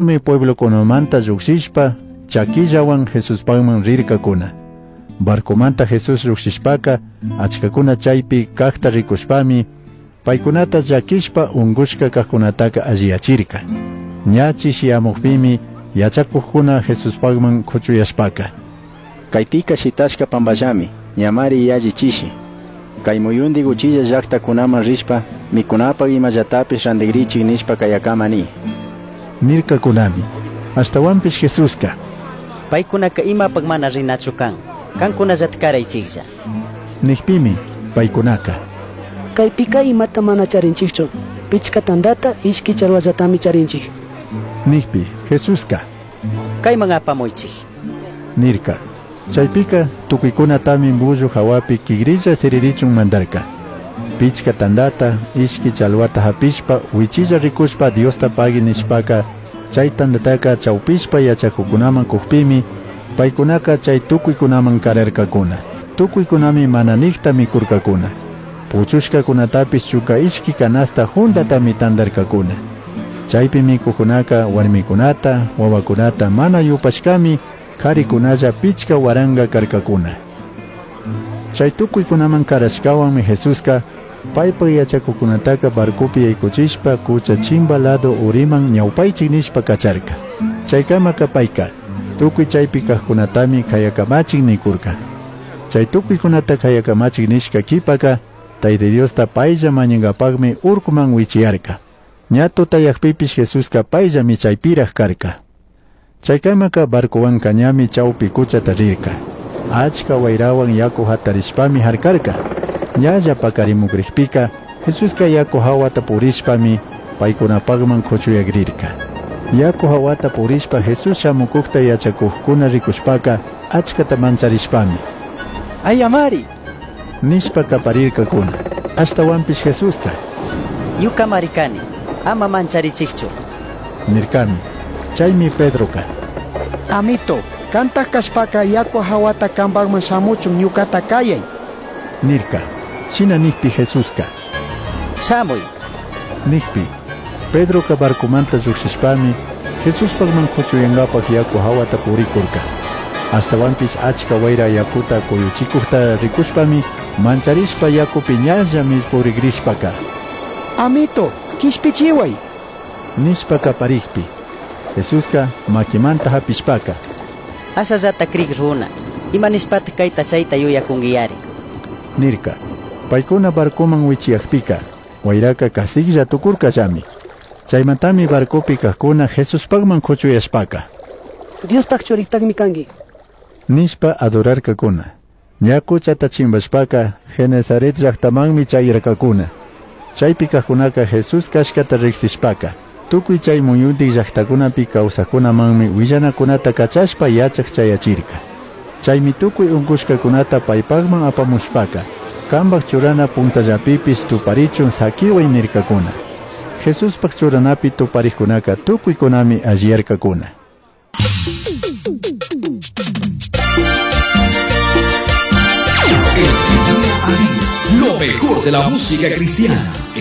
Mi pueblokunamanta llujshishpa chaquillahuan Jesuspajman rircacuna. Barcomanta Jesús llujshishpaca achcacuna chaipi cajta ricushpami paicunata llaquishpa ungushca cajcunataca alliyachirca. Ña chishiyamujpimi yachacujcuna Jesuspajman cuchuyashpaca: Caipica shitashca pamballami, ñamari yalli chishi. Cai muyundi uchilla llajtacunaman rishpa, micunapaj imallatapish randigrichij nishpa cayacama ni. Nircacunami. Ashtahuanpish Jesusca: Paicunaca imapaj mana rinachu can. Cancunallata caraichijlla. Nijpimi paicunaca: Caipica imata mana charinchijchu. Pichca tandata, ishqui chalhuallatami charinchij. Nijpi Jesusca: Caiman apamuichij. Nirca. Chaipica tucuicunatami mullu jahuapi quigrilla siririchun mandarca. Pichca tandata, ishqui chalhuata japishpa, huichilla ricushpa Diosta pagui nishpaca, chai tandataca chaupishpa yachacucunaman cujpimi, paicunaca chai tucuicunaman cararcacuna. Tucuicunami mana nijta micurcacuna. Puchushcacunatapish chunga ishqui canasta jundatami tandarcacuna. Chaipi micucunaca huarmicunata, huahuacunata mana yupashcami, jaricunalla 5000 carcacuna. Chai tucuicunaman carashcahuanmi Jesusca paipaj yachacucunataca barcopi yaycuchishpa cucha chimba lado uriman ñaupaichij nishpa cacharca. Chaicamaca paica tucui chaipi cajcunatami cayacamachij nicurca. Chai tucuicunata cayacamachij nishca quipaca Tayta Diosta pailla mañangapajmi urcuman huichiyarca. Ña tutayajpipish Jesusca paillami chaipiraj carca. Chaicamaca barcohuanca ñami chaupi cuchata rirca. Achca huairahuan yacu jatarishpami jarcarca. Ñalla pacarimugrijpica Jesusca yacu jahuata purishpami paicunapajman cuchuyagrirca. Yacu jahuata purishpa Jesús shamucujta yachacujcuna ricushpaca achcata mancharishpami: ¡Ayamari! Nishpa caparircacuna. Ashtahuanpish Jesusca: Ñucamari cani, ama mancharichijchu. Nircami. Chaimi Pedroca: Amito, cantaj cashpaca yacu jahuata cambajman shamuchun ñucata cayai. Nirca. Shina nijpi Jesusca: Shamuy. Nijpi Pedroca barcomanta llujshishpami Jesuspajman cuchuyangapaj yacu jahuata puricurca. Ashtahuanpish achca huaira yacuta cuyuchicujta ricushpami mancharishpa yacupi ñalla millpurigrishpaca: Amito, quishpichihuai. Nishpa caparijpi Jesusca maquimanta japishpaca: Ashallata crij runa, ima nishpataj caita chaita yuyacunguiyari? Nirca. Paicuna barcoman huichiyajpica huairaca casijlla tucurcallami. Chaimantami barcopi cajcuna Jesuspajman cuchuyashpaca: Diospaj churitajmi cangui. Nishpa adorarcacuna. Ña cuchata chimbashpaca Genesaret llajtamanmi chayarcacuna. Chaipi cajcunaca Jesús cashcata rijsishpaca tucui chai muyundij llajtacunapi causajcunamanmi huillanacunata cachashpa yachaj chayachirca. Chaimi tucui ungushcacunata paipajman apamushpaca cambaj churana puntallapipish tuparichun saquihuai nircacuna. Jesuspaj churanapi tuparijcunaca tucuicunami alliyarcacuna. Lo mejor de la música cristiana.